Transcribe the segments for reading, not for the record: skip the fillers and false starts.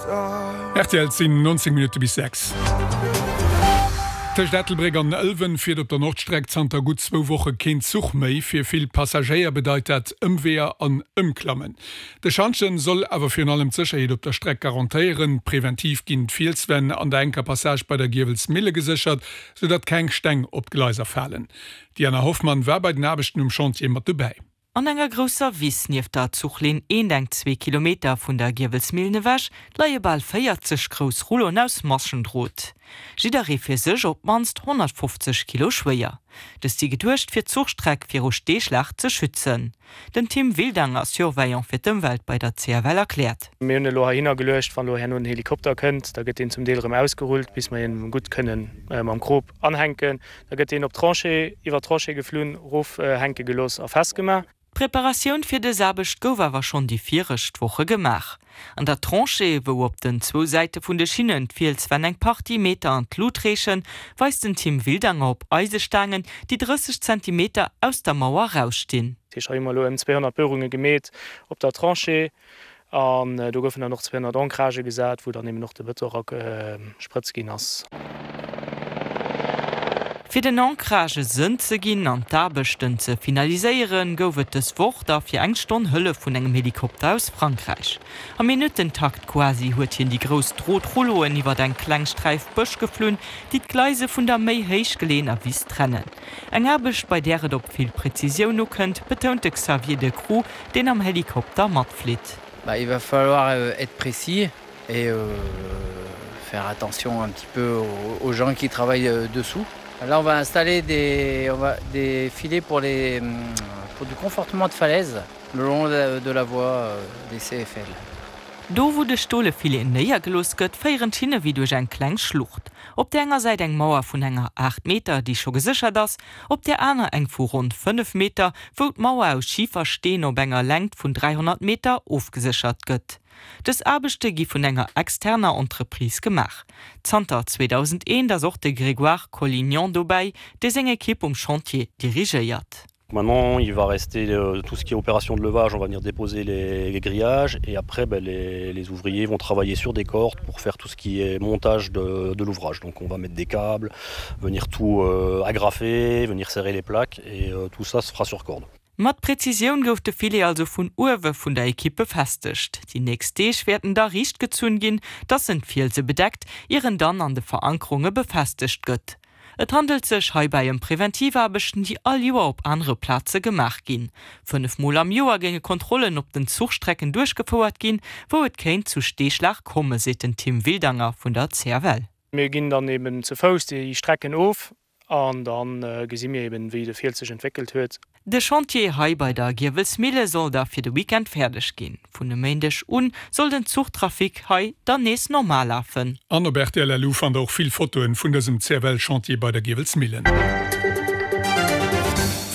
Rtl, Et sinn 19 Minutte bis 6. Tëscht Ettelbréck an Ëlwen fiert op der Nordstreck zanter gutt zwou Woche keen Zuch méi. Fir vill Passagéier bedeit dat Ëmweeër an Ëmklammen. De Schantjen soll awer virun allem d'Sécherheet op der Streck garantéieren. Preventiv ginn d'Fielswänn an der enker Passage bei der Giewelsmille geséchert, soudatt keng Steng op d'Gleiser falen. D'Diana Hoffmann war bei den Aarbechten um Chantier mat dobäi. An enger grousser Wiss nieft der Zuchlinn eent eng zwee Kilometer vun der Giewelsmillen ewech leie bal 40 grouss Rulloen aus Maschendrot. Jidderee fir sech op d'mannst 150 Kilo schwéier. Dës si geduecht fir d'Zuchstreck viru Steeschlag ze schützen. Den Tim Wildanger, Surveillant fir d'Ëmwelt bei der CFL erkläert. Mir hunn elo heihinner geluecht, wann elo herno den Helikopter kënnt, da gëtt deen zum Deel erëm ausgerullt, bis mer hien gutt kënnen mam Krop anhänken. Da gëtt deen op d'Tranchée, iwwer d'Tranchée geflunn, rofhänke gelooss a festgemaach. D'Preparatioun fir dës Aarbecht gouf awer schonn déi viregt Woche gemaach. An der Tranchée, wou op den zwou Säite vun de Schinnen d'Fielswänn eng Partie Meter an d'Lut reechen, weist den Tim Wildanger op Eisestaangen, déi 30 Zentimeter aus der Mauer erausstinn. Dat heescht, hei hu mer elo ëm 200 Buerunge gemeet op der Tranchée. An do goufen dann och 200 Ancragë gesat, wou dann eben och de Bëton eragesprëtzt ginn ass. Fir den Ancragë Sënn ze ginn an d'Aarbechten ze finaliséieren, gouf et dës Woch da fir eng Stonn Hëllef vun engem Helikopter aus Frankräich. Am Minuttentakt quasi huet hien déi grouss Drotrulloen iwwert eng kleng Sträif Bësch geflunn, déi d'Gleise vun der méi héich geleeëner Wiss trennen. Eng Aarbecht, bei där et op vill Präzisioun ukënnt, betount de Xavier Decroux, deen am Helikopter matflitt. Bah, il va falloir être précis et faire attention un petit peu aux gens qui travaillent dessous. Là on va installer des, on va, des filets pour les, pour du confortement de falaise le long de la voie des CFL. Do wou de stole Filet néiergelooss gëtt, féieren d'Schinne wéi duerch eng kleng Schlucht. Op där enger Säit eng Mauer vun enger 8 Meter, déi scho geséchert ass, op där aner eng vu ronn 5 Meter, wou d'Mauer aus Schifersteen op enger Längt vun 300 Meter ofgeséchert gëtt. Dës Aarbechte gi vun enger externer Entreprise gemaach. Zanter 2001 ass och de Grégoire Collignon dobäi, dee seng Ekipp um Chantier dirigéiert. Maintenant il va rester euh, tout ce qui est opération de levage, on va venir déposer les, les grillages et après ben, les, les ouvriers vont travailler sur des cordes pour faire tout ce qui est montage de, de l'ouvrage. Donc on va mettre des câbles, venir tout euh, agrafer, venir serrer les plaques et euh, tout ça se fera sur corde. Mat Präzisioun gouf de Filet also vun uewe vun der Ekipp befestegt. Déi nächst Deeg wäerten da riicht gezunn ginn, dass en d'Fielse bedeckt, ier en dann an de Verankerunge befestegt gëtt. Et handelt sech heibäi ëm Preventivaarbechten, déi all Joer op anere Plaze gemaach ginn. 5 Mol am Joer géinge Kontrollen op den Zuchstrecken duerchgefouert ginn, wou et kéint zu Steeschlag komme, seet den Tim Wildanger vun der CFL. Mir ginn dann eben ze Fouss déi Strecken of an da gesi mir eben, wéi de Fiels sech entwéckelt huet. De Chantier hei bei der Giewelsmille soll da fir de Weekend fäerdeg ginn. Vun e Méindeg un soll den Zuchtrafic hei dann nees normal lafen. An op rtl LU fannt der och vill Fotoen vun dësem CFL-Chantier bei der Giewelsmillen.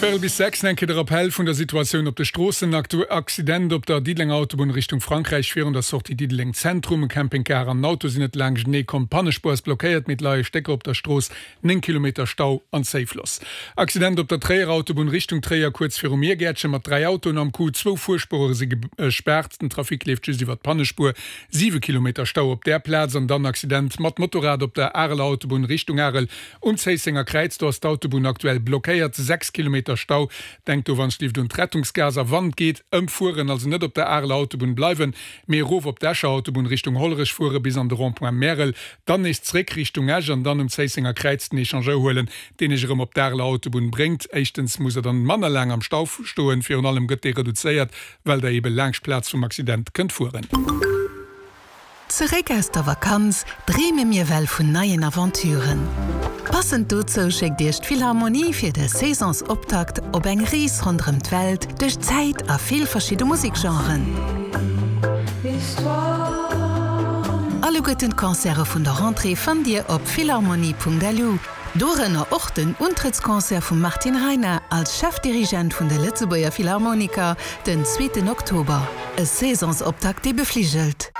Véierel bis 6, Eng Kéier de Rappell vun der Situatioun op de Stroossen. Accident op der Diddelenger Autobunn Richtung Frankräich virun der Sortie Diddeleng Zentrum. E Campingcar an en Auto sinn net laanschtenee komm. D'Pannespuer ass blockéiert, mee et leie Stécker op der Strooss. 9 Kilometer Stau an Zéifloss. Accident op der Tréierer Autobunn Richtung Tréier kuerz virum Miergäertchen mat 3 Autoen am Coup. Zwou Fuerspuere si gespaart, den Trafic leeft just iwwer d'Pannespuer. 7 Kilometer Stau op där Plaz an dann Accident mat Motorrad op der Areler Autobunn Richtung Arel um Zéissenger Kräiz. Do ass d'Autobunn aktuell blockéiert, 6 Kilometer Stau. Denkt do wann et un d'Rettungsgaass a wann et geet ëmfueren, also net op der Areler Autobunn bleiwen, mee erof op d'Escher Autobunn Richtung Hollerech fuere bis an de Rond-point Märel. Dann nees zréck Richtung Esch an dann um Zéissenger Kräiz den Echangeur huelen, deen Iech erëm op d'Areler Autobunn bréngt. Éischtens musst der dann manner laang am Stau stoen, virun allem gëtt dee reduzéiert, well der ebe laangscht d'Plaz vum Accident kënnt fueren. Zeréck aus der Vakanz dreeme mir well vun neien Aventuren. Passend dozou schéckt Iech d'Philharmonie fir de Saisonsoptakt op eng Rees ronderëm d'Welt duerch d'Zäit a vill verschidde Musekgenren. Alleguerten d'Concerte vun der Rentrée fannt Dir op philharmonie.lu, dorënner och den Untrëttsconcert vum Martin Reiner als Chefdirigent vun de Lëtzebuerger Philharmoniker den zweeten Oktober. E Saisonsoptakt dee befligelt.